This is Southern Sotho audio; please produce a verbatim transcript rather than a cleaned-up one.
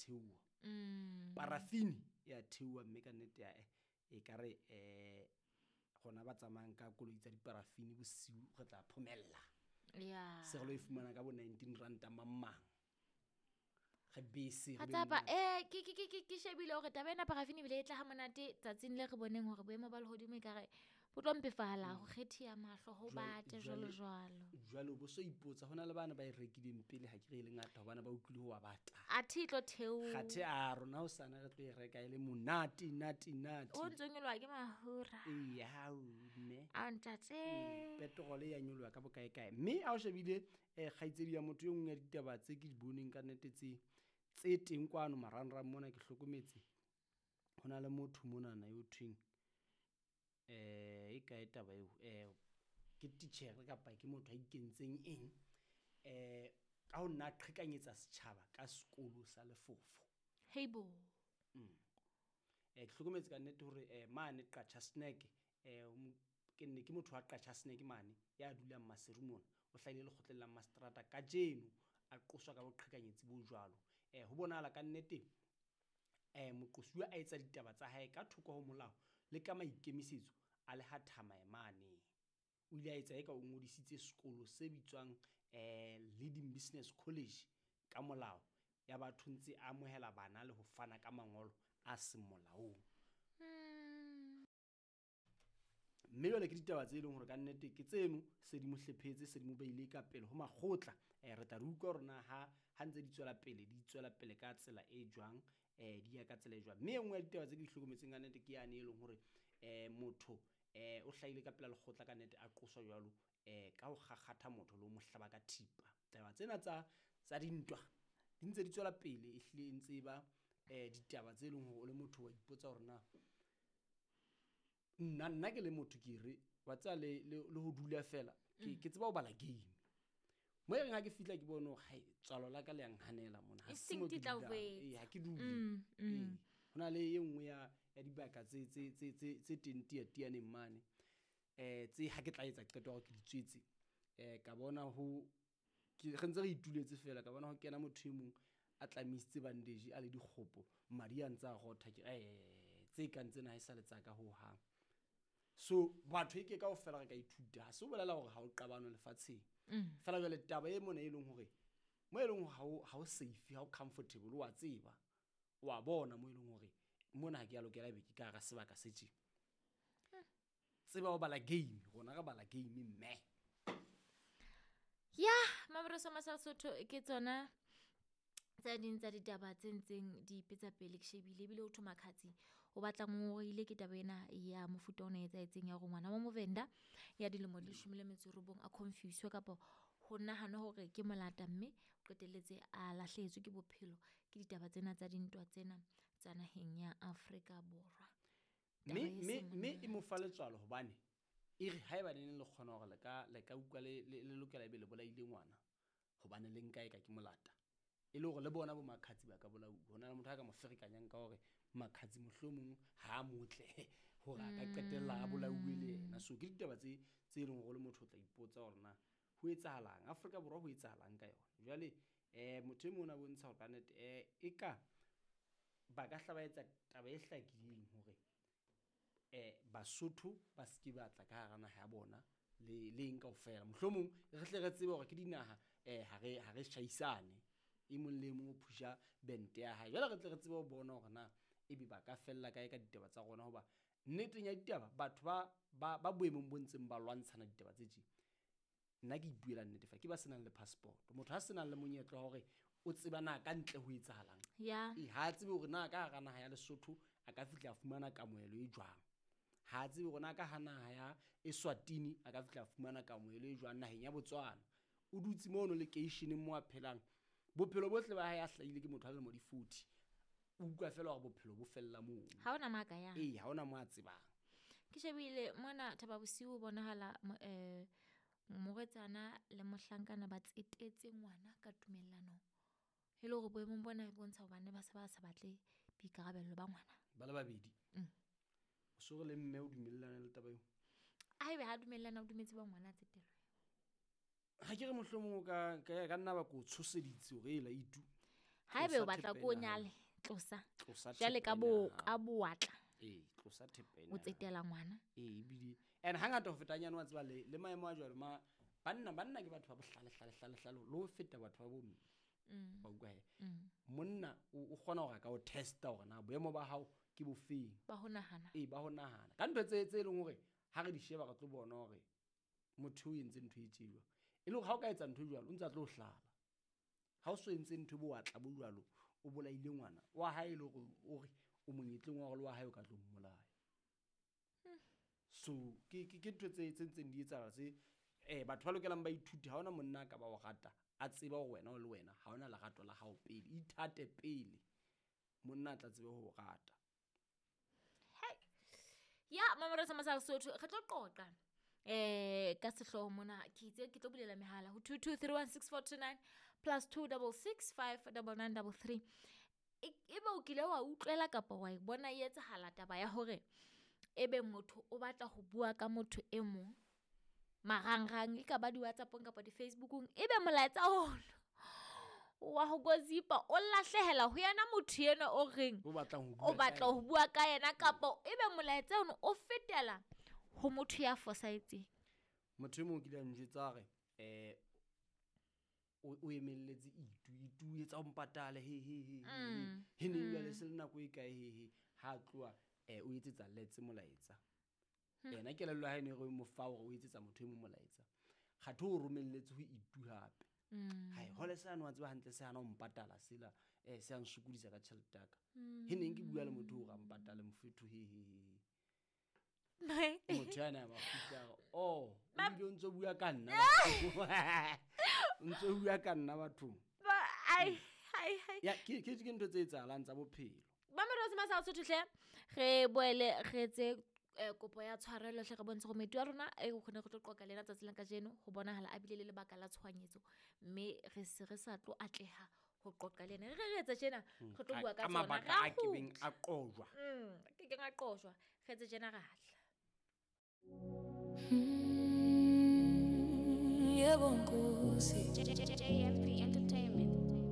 theoha. Mm. Parafini e a theoha mme ka nnete ya e ka re eh gona ba tsamayang ka koloi tsa diparafini bosiu re tla phomella. Yeah. Se re lo e fumana ka bo nineteen ranta mang. Re bese re Hatsapa eh ke ke ke ke shebile hore taba ena parafini bile e tla ha monate tsatsing le re boneng hore boemo ba lehodimo e ka re bo tlo mpefala ho kgethia mahlo ho bate jwalo jwalo. Jwalo bo so ipotsa hona le bana ba e rekileng pele ha ke re le ngata hobane ba utlwile ho wa bata. Athe tlo theo. Kgathe a rona ho sana re tlo e reka e le monate nate nate. O ntse nyolwa ke mahura. Ee ha o mme. A ntate. Petrol ya nyolwa ka bokae kae. Mme a o shebile eh kgaitsedi ya motho e nngwe ya ditaba tse ke di boneng ka nnete tse tse teng kwano marangrang mona ke hlokometse hona le motho monana yo thweng eh e kae taba eo eh ke teacher kapa ke motho a ikentseng eng eh ka ho nna qhekanyetsa setjhaba ka sekolo sa lefofo. Heibo. Mm. Eh ke hlokometse ka nnete hore eh mane Qacha Snack eh ke nne ke motho wa Qacha Snack mane ya dulang Maseru mona o hlahile lekgotleng la mastrata kajeno a qoswa ka boqhekanyetsi bo jwalo. Eh ho bonahala ka nnete eh moqosuwa a etsa ditaba tsa hae ka thoko ho molao le ka maikemisetso a le ha thamaemane. O ile a etsa eka o ngodisitse sekolo se bitswang eh Leading Business College ka molao ya batho ntse a amohela bana le ho fana ka mangolo a seng molaong. Mme jwale ke ditaba tse leng hore ka nnete ke tseno se di mo hlephetse se di mo beile ka pele ho makgotla. Eh re tla re utlwa hore na ha ha ntse di tswela pele di tswela pele ka tsela e jwang eh di ya ka tsela e jwang. Mme e nngwe ya ditaba tse ke di hlokometseng ka nnete ke yane e leng hore eh motho eh o hlahile ka pela lekgotla ka nnete a qoswa jwalo eh ka ho kgakgatha motho le ho mo hlaba ka thipa. Taba tsena tsa tsa dintwa di ntse di tswela pele ehlile e ntse ba eh ditaba tse leng hore o le motho wa ipotsa hore na nna nna ke le motho ke re wa tsa le le ho dula fela ke ke tseba ho bala game mo e reng ha ke fihla ke bone hore hai tswalo la ka le yang hanela mona ha se mo ke dulang ee ha ke dule ee hona le e nngwe ya ya dibaka tse tse tse tse tse teng tiatianeng mane eh tse ha ke tla etsa qeto hore ke di tswetse eh ka bona ho ke re ntse re ituletse fela ka bona ho kena motho e mong a tlamisitse bandage a le dikgopo madi a ntse a rotha ke eh tse kang tsena ha e sa le tsa ka ho hang. So batho e ke kaofela re ka ithuta ha se o bolela hore ha o qabano lefatsheng fela jwale taba e mona e leng hore mo e leng ha o ha o safe ha o comfortable wa tseba wa bona mo e leng hore mona ha ke ya lokela be ke ka hara sebaka se tje tseba o bala game rona re bala game mme ya Maboroso Masasotho ke tsona tsa ding tsa ditaba tse ntseng di ipetsa pele ke shebile ebile o thoma khatsi o batla ngoile ke taba ena ya mofuta ona e etsaetseng ya hore ngwana wa Movenda ya dilemo di leshome le metso e robong a confuse kapa ho nahana hore ke molata mme o qetelletse a lahlehetswe ke bophelo ke ditaba tsena tsa dintwa tsena tsa naheng ya Afrika Borwa. Mme mme mme e mo fa letswalo hobane e re haeba le ne le kgona hore le ka le ka utlwa le le lokela ebe le bolaile ngwana hobane le nka e ka ke molata e le hore le bona bo Makhatsi ba ka bolauwa hona le motho a ka mo ferekanyang ka hore Makhatsi mohlomong ha a motle hore a ka qetella a bolauwe le yena. So ke ditaba tse tse leng hore le motho o tla ipotsa hore na ho etsahalang Afrika Borwa ho etsahalang ka yona. Jwale eh motho e mong a bontsha hore ka nnete eh e ka ba ka hla ba etsa taba e hlakileng hore eh Basotho ba se ke batla ka hara naha ya bona le le eng kaofela mohlomong re hle re tsebe hore ke dinaha eh ha re ha re shaisane e mong le mong o phusha bente ya hae jwale re tle re tsebe ho bona hore na ebe ba ka fella kae ka ditaba tsa rona hoba nneteng ya ditaba batho ba ba ba boemong bo ntseng ba lwantshana ditaba tse tje nna ke ipuela nnete fa ke ba senang le passport motho ha senang le monyetla hore o tseba na ka ntle ho etsahalang ya e ha tsebe hore na ka hara naha ya Lesotho a ka fihla a fumana kamohelo e jwang ha tsebe hore na ka ha naha ya Eswatini a ka fihla a fumana kamohelo e jwang naheng ya Botswana o dutse mono lekeisheneng mo a phelang bophelo bohle ba hae a hlahile ke motho a lemo di forty o utlwa fela hore bophelo bo fella moo ha ona maka ya ee ha ona mo a tsebang. Ke shebile mona Thaba Bosiu bonahala eh morwetsana le mohlankana ba tsetetse ngwana ka tumellano e le hore boemong bona e bontsha hobane ba se ba sa batle boikarabello ba ngwana ba le babedi. O so re le mme o dumellana le taba eo a ebe ha dumellana o dumetse ba ngwana tsetelwe ha ke re mohlomong ka ka nna ba ko tshoseditse hore ela itu Haebe Tlosa o batla thepa ko o ena ya hao. nyale, tlosa. Tlosa Jwale thepa ka ena bo ya hao. ka bowatla. Ee, tlosa thepa ena O ya hao. tsetela ngwana. Ee, ebile and hangata ho feta nyane wa tseba le le maemo a jwalo ma banna banna ke batho ba bohlale hlale hlale hlale le ho feta batho ba bomme. Mm. Wa utlwa he? Monna o o kgona hore a ka o testa hore na boemo ba hao ke bofeng. Ba ho nahana. Ee, ba ho nahana. Ka ntho tse tse leng hore ha re di sheba re tlo bona hore motho o entse ntho e tje jwang. E le hore ha o ka etsa ntho e jwalo o ntse a tlo hlala. Ha o so entse ntho e bowatla bo jwalo, o bolaile ngwana wa hae e le hore o re o monyetleng wa hore le wa hae o ka tlo mmolaya. So ke ke ke ntho tse tse ntseng di etsahala tse eh batho ba lokelang ba ithute. Ha hona monna a ka ba o rata a tseba hore wena o le wena ha hona lerato la hao pele. Ithate pele monna a tla tsebe ho o rata. Ya mamoresa sa Sesotho re tlo qoqa eh ka sehlooho mona ke itse ke tlo bulela mehala ho two two three one six four two nine plus two double six five double nine double three. E ebe o kile wa utlwela kapa wa e bona e etsahala taba ya hore ebe motho o batla ho bua ka motho e mong marangrang e ka ba di-WhatsApp-ong kapa di-Facebook-ong, ebe molaetsa ono wa ho gossipa o lahlehela ho yena motho enwa o reng O batlang ho o bua ka batla ho yena. bua ka yena, kapa ebe molaetsa ono o fetela ho motho ya fosahetseng. Motho e mong o kile a njwetsa hore eh o o emelletse itu itu o etsa o mpatale he he he he Mm, he neng jwale se le nako e kae he he ha a tloha eh o etsetsa Letse molaetsa. Yena kelello ya hae ne re mo fa hore o etsetsa motho e mong molaetsa. Kgathe o romelletse ho itu hape. Mm. Hai hole sane wa tseba hantle se hana ho mpatala sela eh se a nsokodisa ka tjhelete ya ka. He neng ke bua le motho hore a mpatale mofethu he he he. Motho yana a ba kgutla a re, oh, o bile o ntso bua ka nna bathong. O ntso bua ka nna bathong. Ba ai ai ai. Ya ke ke ke ntho tse etsahalang tsa bophelo. Mamelodi sa Sesotho hle re boele re etse eh, kopo ya tshwarelo hle re bontshe gore moeti wa rona e o kgone go tlo qoqa le ena tsatsi la kajeno ho bonahala a bile le lebaka la tshohanyetso mme re se re sa tlo atleha ho qoqa le ena. Re re etsa tjena re tlo bua ka Ka tsona. mabaka Ra a kebeng kgutla. a qojwa. Mm, ke keng a qojwa. Re etse tjena ra tla. Mm, yebo Nkosi. J J J M P Entertainment.